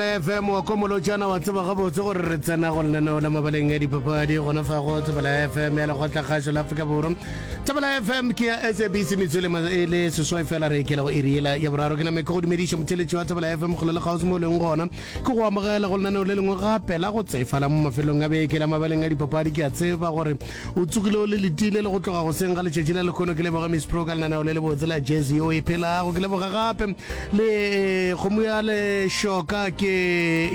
FM wa Komolotšana wa tseba gabotse gore re tsena go lenaneo la mabaleng a dipapadi gona fa go Thobela FM ya lekgotlakgašo la Afrika Borwa. Thobela FM ke ya SABC metswele e le seswai fela re ekela go iri yela ya boraro. Ke name ke go dumediša motheletši wa Thobela FM kgole le kgauswi mo o leng gona. Ke go amogela go lenaneo le lengwe gape la go tsefala mo mafelong a beke la mabaleng a dipapadi. Ke a tseba gore o tsogile o le letile le go tloga goseng ga letšatši la lekgono. Ke leboga Miss Pro ka lenaneo le lebotse la jazz yeo e phelago. Ke leboga gape le kgomo ya lešoka ke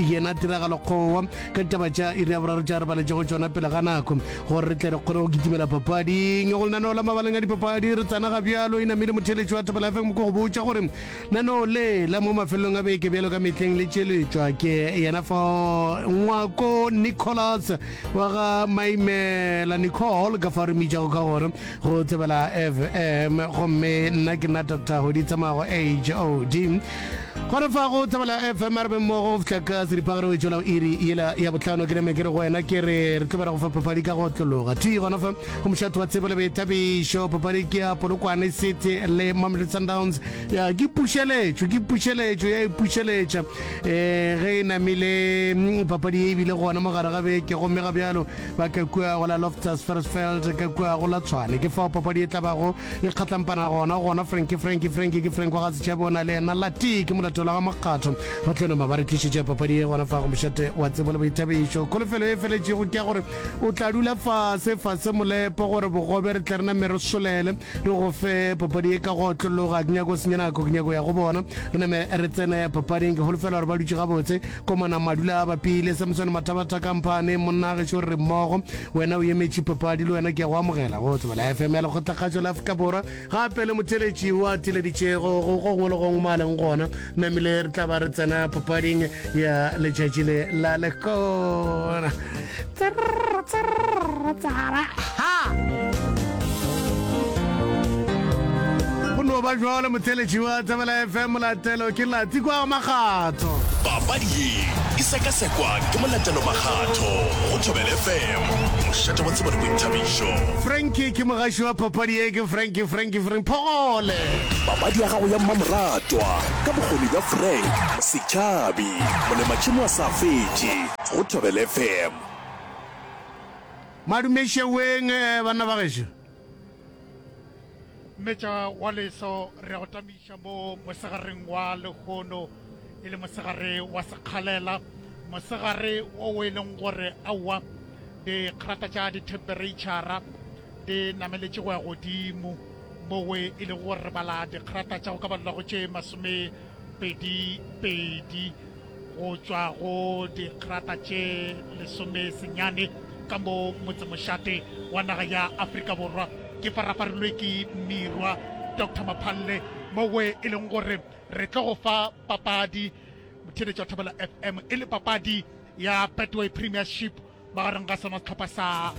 yena tiragalo kgowa ka ditaba tša iri ya boraro tša re baletšego tšona pele ga nako gore re tle re kgone go kitimela papading go lenaneo la mabaleng a dipapadi re tsena ga bjalo e namile motheletši wa Thobela FM ko go botša gore Lenaneo le la mo mafelelong a beke bjalo ka mehleng le tšweletšwa ke yena fao Ngwako Nicholas wa ga Maimela Nicole ka fao re mmitšago ka gore go Thobela FM gomme nna ke nna Dr. Hodi Tsamago HOD gona fa go Thobela FM a re be mmogo go fihla ka seripagare go tšwela iri yela ya bohlano ke name ke re go wena ke re re tlo ba re go fa papadi ka go otlologa thwi gona fa go mošate wa tsebo le boithabišo papadi ke ya Polokwane City le Mamelodi Sundowns Ya, ke pušeletšo, ke pušeletšo, ya ipušeletša. E, ge e namile mm, papadi ye e bile gona mo gare ga beke, gomme ga bjalo ba ka kua go la Loftus Versfeld, ka kua go la Tshwane. Ke fao papadi e tla bago e kgatlampana gona, gona Frankie, Frankie, Frankie, ke Frank wa ga Setšhabe o na le yena Lati, ke molatola ga Makgatho. Ba tlo nama ba re tlišetša papadi ye gona fa go mošate wa tsebo le boithabišo. Kholofelo e feletšego ke ya gore o tla dula fase, fase molepo gore bogobe re tle re name re solele. Re go fe papadi ye ka go otlologa. Ke nyako senya nako, ke nyako ya go bona. Re name re tsene papading. Ke holofela gore ba dutše gabotse. Komana Madula a bapile, Samson Mathabatha Kamphane, monna gešo re mmogo. Wena o emetše papadi, le wena ke a go amogela go Thobela FM ya Lekgotlakgašo la Afrika Borwa. Gape le motheeletši o a theeleditšego go gongwe le gongwe mo a leng gona. Namile re tla ba re tsena papading ya letšatši le la lekona. Tsrrr, tsrrr, tsara. Ha! Go no ba jwalo motheeletši wa Thobela FM Molatelo ke Latsi kwa Makgatho. Papadi ye e sekasekwa ke Molatelo Makgatho go Thobela FM, mošate wa tsebo le boithabišo. Frankie ke mogaši wa papadi ye ke Frankie Frankie Frank Phogole. Papadi ya gago ya mmamoratwa ka bokgoni bja Frank Setšhabi, molematšhemo a sa fetše go Thobela FM. Madumešeweng banna ba gešo. Mmetša wa leso re a go tamiša mo mosegareng wa lehono e le mosegare wa sekgalela mosegare wo e leng gore aowa dikgrata tša dithempereitšhara di nameletše go ya godimo mowe e lego gore re bala dikgrata tša go ka balelwa go tše masomepedi pedi go tšwa go dikgrata tše lesomesenyane ka mo motsemošate wa naga ya Afrika Borwa. Ke farafarilwe ke Mirwa Doctor Maphalle mowe e leng gore re tlo go fa papadi motheeletši wa Thobela FM e le papadi ya Betway Premiership magareng ga sona sehlopha sa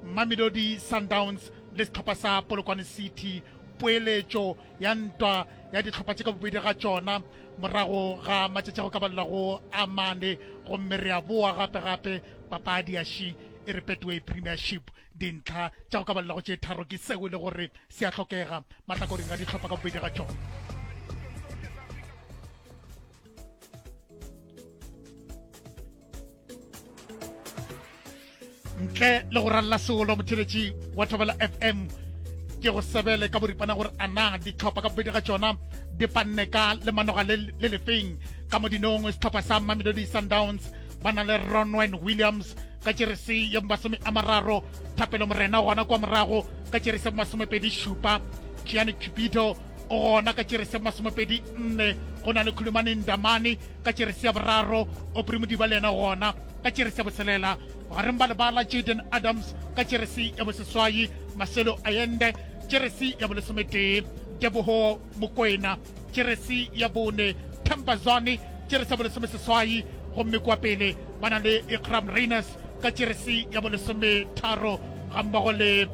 Mamelodi Sundowns le sehlopha sa Polokwane City poeletšo ya ntwa ya dihlopha tše ka bobedi ga tšona morago ga matšatši a go ka balelago a mane gomme re a boa gape gape papadi ya ši e re Betway Premiership dintlha tša go ka balelago tše tharo ke seo e le gore se a hlokega mahlakoreng a dihlopha ka bobedi ga tšona. Ntle le go ralla seolo motheletši wa Thobela FM ke go sebele ka boripana gore a na ditlhopha ka bobedi ga tšona di panne ka lemanoga le le lefeng ka modinong setlhopha sa Mamelodi Sundowns ba na le Ronwen Williams ka jeresi ya masome a mararo Thapelo Morena gona kwa morago ka jeresi ya masomepedi šupa Gianni Cupido o gona ka jeresi ya masomepedi nne go na le Khulumani Ndamane ka jeresi ya boraro Aubrey Modiba le yena gona ka jeresi ya botshelela bogareng ba lebala Jaden Adams ka jeresi ya boseswai Marcelo Allende jeresi ya bolesometee Teboho Mokoena jeresi ya bone Themba Zwane jeresi ya bolesomeseswai gomme kwa pele ba na le Iqraam Rayners ka jeresi ya bolesometharo gammogo le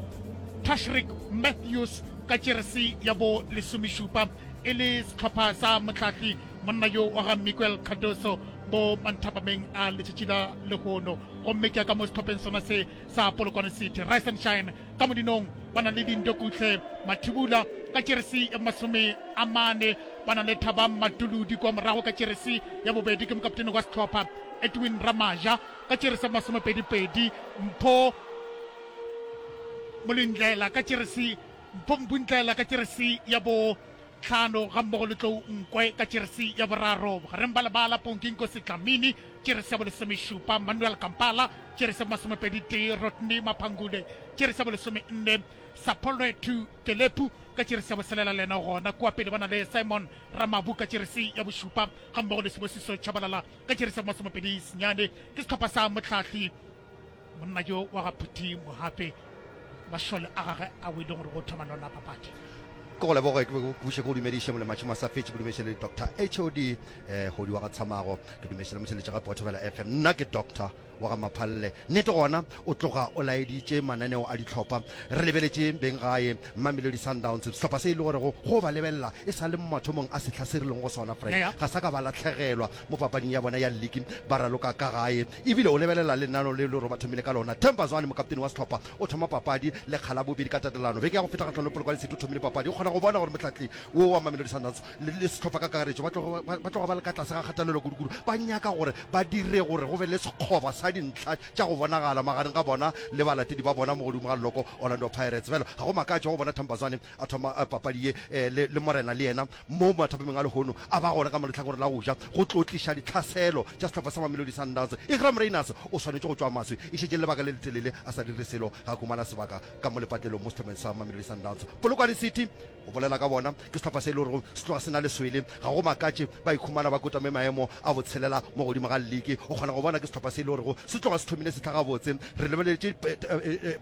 Tashreeq Matthews ka jeresi ya bolesomešupa e le sehlopha sa mohlahli monna yo wa ga Miguel Cardoso mo manthapameng a letšatši la lehono. Gomme ke ya ka mo sehlopheng sona se sa Polokwane City. Rise and Shine ka modinong ba na le Dindokuhle Mathibula ka jeresi ya masome a mane. Ba na le Thabang Matuludi kwa morago ka jeresi ya bobedi ke mokaptene wa sehlopha Edwin Ramaja ka jeresi ya masomepedipedi, Mpho Molindlela ka jeresi Mpho Mbundlela ka jeresi ya bo tlhano gammogo le Tlou Nkwe ka jeresi ya boraro. Bogareng ba lebala Ponki Nkosi Dlamini jeresi ya bolesomešupa, Manuel Kampala jeresi ya bomasomepeditee, Rodney Maphangule jeresi ya bolesomenne, Sapolwethu Telepu ka jeresi ya boselela le yena gona kua pele ba na le Simon Ramabu ka jeresi ya bošupa gammogo le Sibusiso Tshabalala ka jeresi ya bomasomepedi senyane. Ke sehlopha sa mohlahli monna yo wa ga Phuthi Mohape mašole a gage a o e leng gore go thoma lona papadi. Ke go leboge ke buše ke go dumediše molematšhe masafetše ke dumediše le Doctor HOD eh hodi wa ga Tshamago ke dumediše le motheletše gape wa Thobela FM nna ke Doctor wa ga Maphalle. Nnete gona o tloga o laeditše mananeo a dihlopha. Re lebeletše beng gae Mamelodi Sundowns, sehlopha se e le gorego go ba lebelela e sa le mathomong a sehla se re leng go sona, Frank, ga sa ka ba lahlegelwa mo papading ya bona ya lliki, ba raloka ka gae. Ebile o lebelela lenaneo le e le gore ba thomile ka lona. Themba Zwane, mokaptene wa sehlopha, o thoma papadi lekga la bobedi ka tatelano. Beke ya go feta kgahlanong le Polokwane City o thomile papadi. O kgona go bona gore mohlahli wo wa Mamelodi Sundowns le, le sehlopha ka kakaretšo ba tloga ba, ba tloga ba le ka tlase ga kgatelelo kudu-kudu. Ba nyaka gore ba dire gore go be le sekgoba sa dintlha tša go bonagala magareng ga bona le balatedi ba bona mo godimo ga leloko Orlando Pirates. Bjalo ga go makatše go bona Themba Zwane a thoma eh, papadi ye eh, le, le Morena le yena mo mathapameng a lehono a ba gona ka mo lehlakoreng la go ja go tlo tliša ditlhaselo tša sehlopha sa Mamelodi Sundowns. Iqraam Rayners o swanetše go tšwa maswi e šetše lebaka le letelele a sa dire selo ga a humana sebaka ka mo lepatlelong mo sehlopheng sa Mamelodi Sundowns. Polokwane City Go bolela ka bona, ke sehlopha se e le gorego se tloga se na le swele. Ga go makatše ba ikhumana ba kotame maemo a botshelela mo godimo ga lliki. O kgona go bona ke sehlopha se e le gorego se tloga se thomile sehla gabotse. Re lebeletše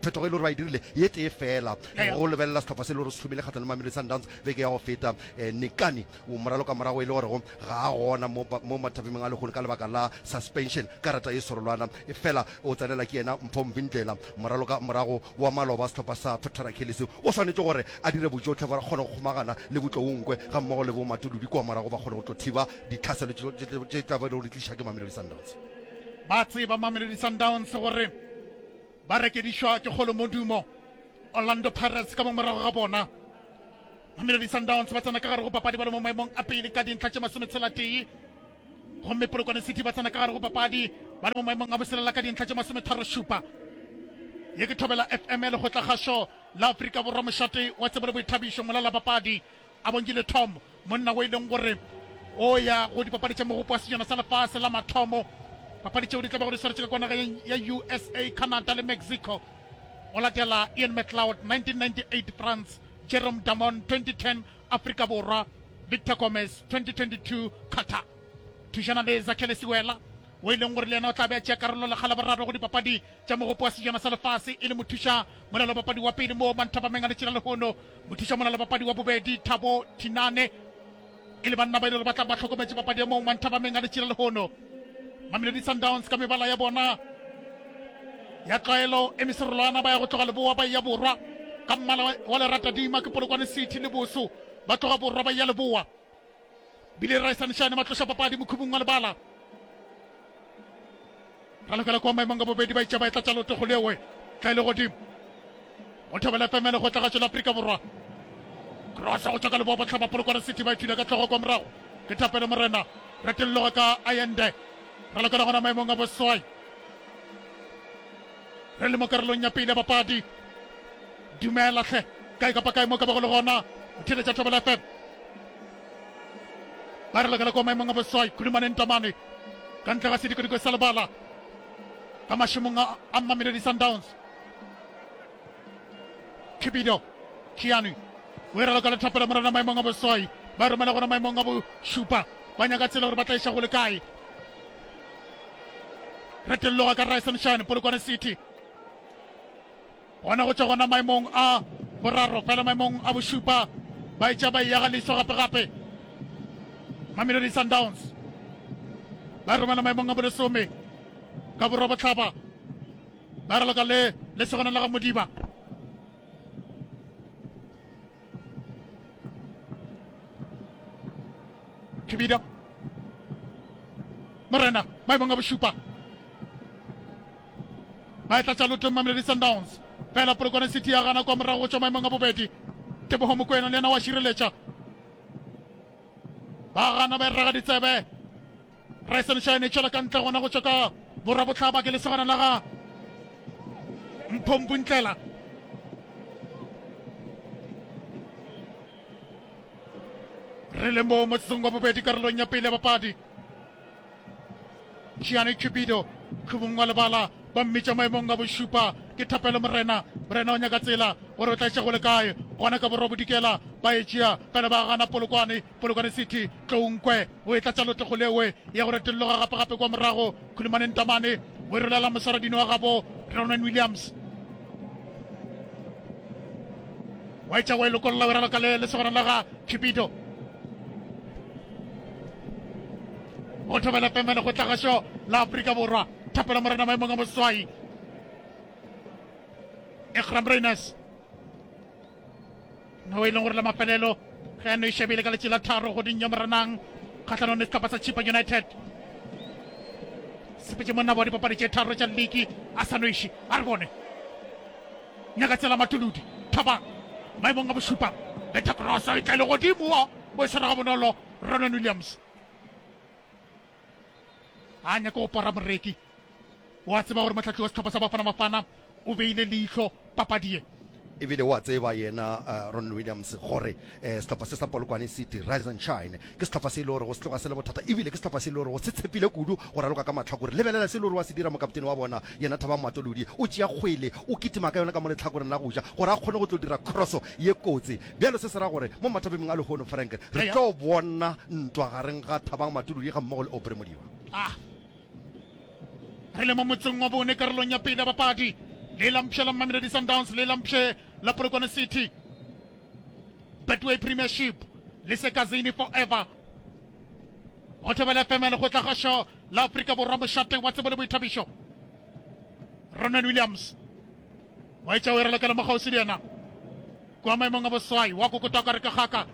phetogo e le gore ba e dirile ye tee feela go lebelela sehlopha se e le gore se thomile kgahlanong le Mamelodi Sundowns beke ya go feta. Nikani moralokamorago e le gorego ga a gona mo mo mathapemeng a lehono ka lebaka la suspension, karata ye serolwana. Efela o tsenela ke yena Mpho Mvindlela, moralokamorago wa maloba sehlopha sa Pretoria Callies o swanetše gore a dire bojohle gore a kgone go kgomagana le boTlounkwe gammogo le boMatuludi kua morago ba kgone go tlo thiba ditlhaselo tše tla bego di tliša ke Mamelodi Sundowns. Ba tseba Mamelodi Sundowns gore ba rekedišwa ke kgolomodumo Orlando Pirates ka mo morago ga bona. Mamelodi Sundowns ba tsena ka gare go papadi ba le mo maemong a pele ka dintlha tše masometshela-tee. Gomme Polokwane City ba tsena ka gare go papadi ba le mo maemong a boselela ka dintlha tše masometharošupa. Ye ke Thobela FM ya Lekgotlakgašo la Afrika Borwa, mošate wa tsebo le boithabišo. Molalapapadi a Bongile Tom, monna o e leng gore o ya go dipapadi tša mogopo wa sejana sa lefase la mathomo, papadi tšeo di tla bego di swaretše ka kwa nageng ya USA, Canada le Mexico. O latela Ian McLeod, 1998 France, Jerome Damon, 2010 Afrika Borwa, Victor Gomez, 2022, Qatar. Thušana le Zakhele Siwela, wo e leng gore le yena o tla be a tšea karolo lekga la boraro go dipapadi tša Mogopo wa Sejana sa Lefase e le mothuša molalobapadi wa pele mo Manthapameng a letšela lehono. Mothuša molalobapadi wa bobedi Thabo Thinane e le banna ba e le gore ba tla ba hlokometše papadi ya mo Manthapameng a letšela lehono. Mamelodi Sundowns ka mebala ya bona ya tlwaelo e meserolwana ba ya go tloga leboa ba ya borwa ka mmala wa leratadima ke Polokwane City le Boso ba tloga borwa ba ya leboa. Bile Raesanešane ba tloša papadi mokhubung wa lebala. Ralokela kwa maemong a bobedi ba itša ba etla tša loto go lewe tla e le godimo. Go thobela FM ya lekgotla la Afrika Borwa. Cross go tšwa ka leboa bohlaba Polokwane City ba ithula ka hlogo kwa morago. Ke Thapelo Morena retelloga ka Ayende. Ralokela gona maemong a boswai. Re le mo karolong ya pele ya papadi. Dumela hle kae kapa kae mo ka bago le gona. O theeletša Thobela FM. Ba ralokela kwa maemong a boswai Khulumane Ntamane ka ntle ga sedikodiko sa lebala ka mašemong a a Mamelodi Sundowns. Cupido Kianu o e raloka le Thapelo Morena maemong a boswai ba romela gona maemong a bošupa ba nyaka tsela gore ba tla iša go le kae. Retelloga ka Ryson Shine Polokwane City gona go tšwa gona maemong a boraro fela maemong a bošupa ba etša ba eya ga leso gape gape Mamelodi Sundowns ba romela maemong a bolesome ka borwa bohlaba ba raloka le lesogana la ga Modiba. Kibida Morena maemong a bošupa ba e tlatša lotong Mamelodi Sundowns fela Polokwane City ya gana kwa morago go tšwa maemong a bobedi. Tebogo Mokoena le yena wa šireletša. Ba gana ba e raga ditsebe. Rise and Shine e tšwela ka ntle gona go tšwa ka borwa-bohlaba ke lesogana la ga Mpho Mpuntlela. Re le mo motsotsong wa bobedi karolong ya pele ya papadi. Gianni Cupido khubung wa lebala ba mmitša maemong a bošupa ke Thapelo Morena. Morena o nyaka tsela gore o tla iša go le kae gona ka borwa bodikela ba e tšea pele ba gana Polokwane. Polokwane City Tlounkwe o e tlatša lotlego lewe ya go retolloga gape gape kwa morago. Khulumane Ntamane o e rolela moswaradino wa gabo Ronwen Williams wa etša wa e lokolola o e raloka le lesogana la ga Cupido. Go thobela FM le go tlagašo la Afrika Borwa. Thapelo Morena maemong a boswai. Ekram Reyners. No e leng gore la mafelelo ge a no e šebile ka letši la tharo goding ya Moranang kgahlanong le sehlopha sa Chippa United. Sepetše monna wa dipapadi tše tharo tša liki a sa noiše. A re bone. Nyaka tsela Matuludi. Thabang maemong a bošupa. Betha cross e tla le godimo o e swara gabonolo Ronan Williams. A nyaka go pora moreki. O a tseba gore mohlahli wa sehlopha sa Bafana Bafana o beile leihlo papadi ye. Ebile o a tseba yena uh, Ron Williams gore uh, sehlopha se sa Polokwane City Rise and Shine ke sehlopha se e le gore go se tloga se le bothata ebile ke sehlopha se e le gore go se tshepile kudu go raloka ka mahlakore. Lebelela se e le gore wa se dira mokaptene wa bona yena Thabang Matolodi o tšea kgwele o kitima ka yona ka mo lehlakoreng la go ja gore a kgone go tlo dira crosso ye kotsi. Bjalo se se ra gore mo mathapemeng a lehono Frank re tlo bona ntwa gareng ga Thabang Matolodi ga mmogo le Aubrey Modiba. Ah. Re le mo motseng wa bone karolong ya pele ya papadi. Le la mpsha la Mamelodi Sundowns, le la mpshe la Polokwane City. Betway Premiership le Sekazini forever. Go thobela FM le go tla gašo la Afrika Borwa mošate wa tsebo le boithabišo. Ronan Williams wa etša o e ralokela mo kgauswi le yena. Kua maemong a boswai wa kokota ka re ka gaka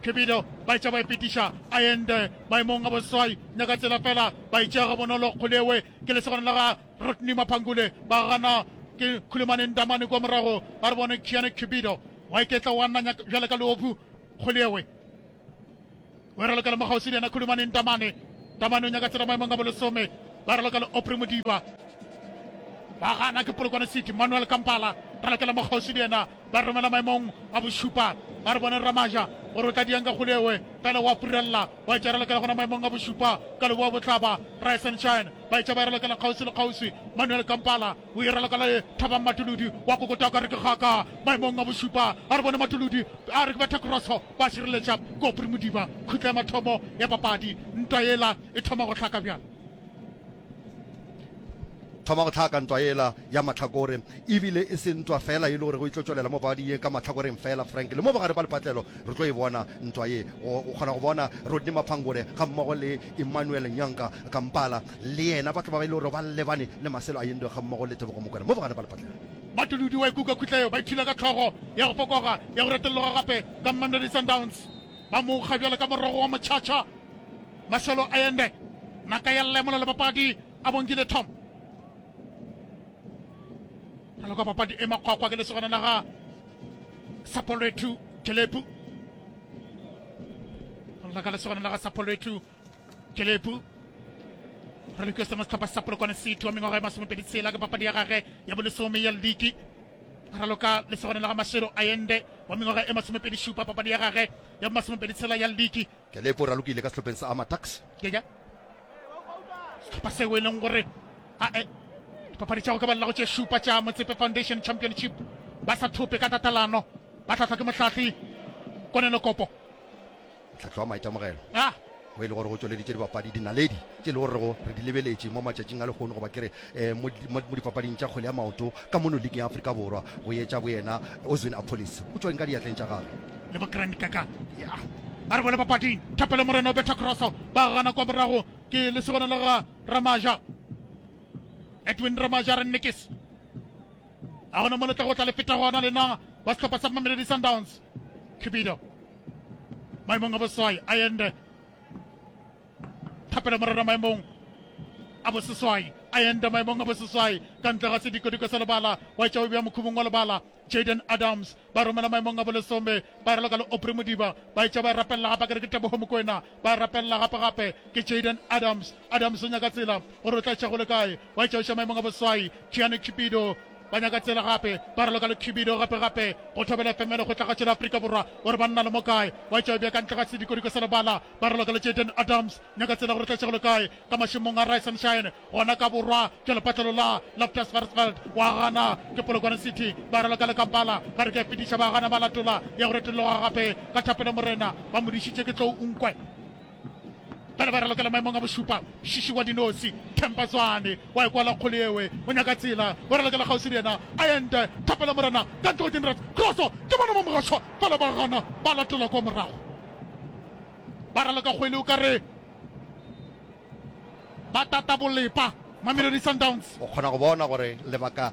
Cupido ba etša ba e fetiša Allende maemong a boswai nyaka tsela fela ba e tšea gabonolo Kgolewe ke lesogana la ga Rodney Maphangule ba gana ke Khulumane Ndamane kua morago ba re bone Kiane Cupido wa iketla wa nanya bjale ka leobu Kgolewe O e ralokela mo kgauswi le yena Khulumane Ntamane. Ntamane o nyaka tsela maemong a bolesome. Ba raloka le Aubrey Modiba. Ba gana ke Polokwane City. Manuel Kampala ralokela mo kgauswi le yena. Ba romela maemong a bošupa. Ba re bone Ramaja gore o tla diang ka kgolewe. Pele wa furella. Wa etša ralokela gona maemong a bošupa ka leboa bohlaba. Rise and Shine ba etša ba e ralokela kgauswi le kgauswi. Manuel Kampala o e raloka le Thabang Matuludi wa kokota ka re ke gaka maemong a bošupa. A re bone Matuludi a re ke betha crosso. Ba šireletša Kopri Modiba. Khutla ya mathomo ya papadi. Ntwa yela e thoma go hlaka bjang? Thoma go hlaka ntwa yela ya mahlakore. E bile e se ntwa feela e le gore go e tlo tšwelela mo papading ye ka mahlakoreng feela, Frank. Le mo bogare ba lepatlelo re tlo e bona ntwa ye. O kgona go bona Rodney Maphangore gammogo le Emmanuel Nyanka Kampala le yena ba tlo ba e le gore ba lebane le Marcelo Allende gammogo le Tebogo Mokoena mo bogare ba lepatlelo. Matuludi wa ikuka khutla yeo ba ithula ka hlogo ya go fokoga ya go retolloga gape ka Mamelodi Sundowns. Ba mo kga bjalo ka morogo wa motšhatšha. Marcelo Allende naka ya lemola le papadi a bonkile Tom. Raloka papadi e makgwakgwa ke lesogana la ga Sapolwethu Kelepu. Raloka lesogana la ga Sapolwethu Kelepu. Raloka sema sehlopha sa Polokwane City wa mengwaga e 26 ke papadi ya gage ya bolesome ya liki. Raloka lesogana la ga Marcelo Allende wa mengwaga e 27 papadi ya gage ya 26 ya liki. Kelepu o ralokile ka sehlopheng sa Amatax. Keja sehlopha seo e leng gore ae dipapadi tša go ka balela go tše šupa tša Motsepe Foundation Championship ba sa thope ka tatelano ba hlahlwa ke mohlahli Konelo Kopo. Mohlahli wa maitemogelo ah. o e le gore go tšweleditše dibapadi dinaledi tše e le gore re di lebeletše mo matšatšing a lehono goba ke re um mo dipapading tša kgwele ya maoto ka mono league ya Afrika Borwa go etša boyena Oswin Appollis o tšweng ka diatleng tša gagwe le bo Grand Kaka ya a re bone papading Thapelo Morena o betha crosso ba gana kwa morago ke lesogana la ga Ramaja Edwin Ramaja re nnekes a gona mo le tla go tla le feta gona lena ba sehlopha sa Mamelodi Sundowns Cupido maemong a boswai Allende Thapelo Morena maemong a boseswai Allende maemong a boseswai ka ntle ga sedikodiko sa lebala wa etša o bea mokhubong wa lebala. Jayden Adams ba romela maemong a bolesome, ba raloka le Aubrey Modiba, ba etša ba e rapelela gape akere ke Teboho Mokoena, ba e rapelela gape gape ke Jayden Adams. Adams o nyaka tsela gore o tla etša go le kae, wa etša o iša maemong a boswai, Gianni Cupido ba nyaka tsela gape, ba raloka le Cupido gape gape go thobela FM ya Lekgotlagatšo la Afrika Borwa gore banna le mo kae, wa etša o bea ka ntle ga sedikodiko sa lebala, ba raloka le Jayden Adams, nyaka tsela gore o tla etša go le kae ka mašemong a Rise and Shine. Gona ka borwa bja lepatlelo la Loftus Versfeld wa gana ke Polokwane City ba raloka le Kampala ba re ke a fetiša ba gana ba latola ya go retologa gape ka thapelo Morena ba mo dišitše ke tlou nkwe bjale ba ralokela maemong a bošupa Shishi wa dinosi Themba Zwane wa e kwala kgole ewe o nyaka tsela o ralokela kgauswi le yena Ayende thapelo Morena ka ntle go Dinrats Kroso ke bona mo mogašwa fela ba gana ba latola kwa morago ba raloka kgwele o ka re Ba tata bolepa Mamelodi Sundowns. O kgona go bona gore lebaka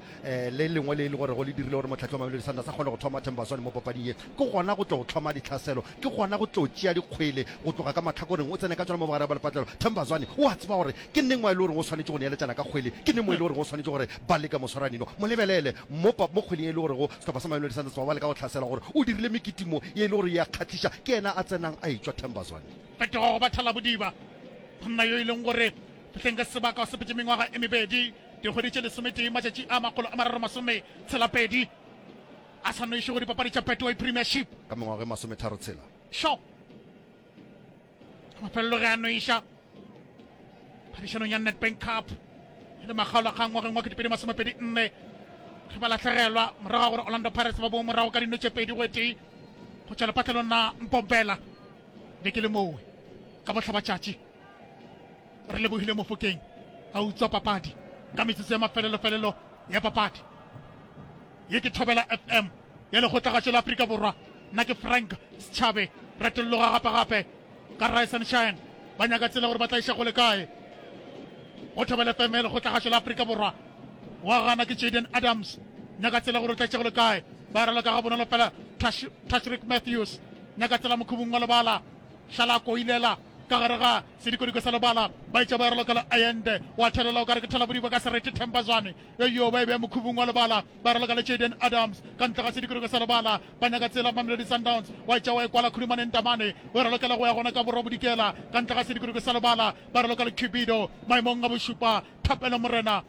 le lengwe le e le gore go le dirile gore mohlahli wa Mamelodi Sundowns a kgone go thoma Themba Zwane mo papading ye, ke gona go tlo hloma ditlhaselo, ke gona go tlo tšea dikgwele go tloga ka mahlakoreng o tsene ka tšona mo bogare ba lepatlelo. Themba Zwane o a tseba gore ke neng mo e le goreng o swanetše go neeletšana ka kgwele, ke neng mo e le goreng o swanetše gore ba leke moswaranino. Mo lebelele mo mo kgweleng e le gorego sehlopha sa Mamelodi Sundowns ba ba leka go hlasela gore o dirile mekitimo ye e le gore e a kgahliša, ke yena a tsenang a etšwa Themba Zwane. Phetogo go ba thalabodiba. Monna yo e leng gore fihleng ka sebaka o sepetše mengwaga e mebedi, dikgwedi tše lesometee, matšatši a 367 a sa noiše go dipapadi tša Betway Premiership. Ka mengwaga e masometharotshela. Sho! Mafelelo ge a noiša phadišanong ya Nedbank Cup e le makgaolakgang ngwageng wa 2024 ge ba lahlegelwa morago ga gore Orlando Pirates ba boe morago ka dino tše pedi go e tee go tšwa lepatlelong la Mpompela. Be ke le mowe ka bohlabatšatši. Re lebogile Mofokeng a utswa papadi ka metsotso ya mafelelofelelo ya papadi. Ye ke Thobela FM ya Lekgotlagašo la Afrika Borwa. Nna ke Frank Setšhabe. Retolloga gape-gape ka Rise and Shine. Ba nyaka tsela gore ba tla iša kgole kae. Go Thobela FM ya Lekgotlagašo la Afrika Borwa. Wa gana ke Jayden Adams. Nyaka tsela gore o tla iša kgole kae. Ba raloka gabonolo fela Tashreeq Matthews. Nyaka tsela mokhubung wa lebala. Šala koilela ka gare ga sedikodiko sa lebala. Ba etša ba ralokela Ayende. Wa thelela o ka re ke thalabodiba ka serete Themba Zwane. Yo ba e bea mokhubung wa lebala. Ba raloka le Jayden Adams ka ntle ga sedikodiko sa lebala. Ba nyaka tsela Mamelodi Sundowns. Wa etša wa e kwala Khulumane Ntamane. O ralokela go ya gona ka borwa bodikela ka ntle ga sedikodiko sa lebala. Ba raloka le Cupido maemong a bošupa. Thapelo Morena.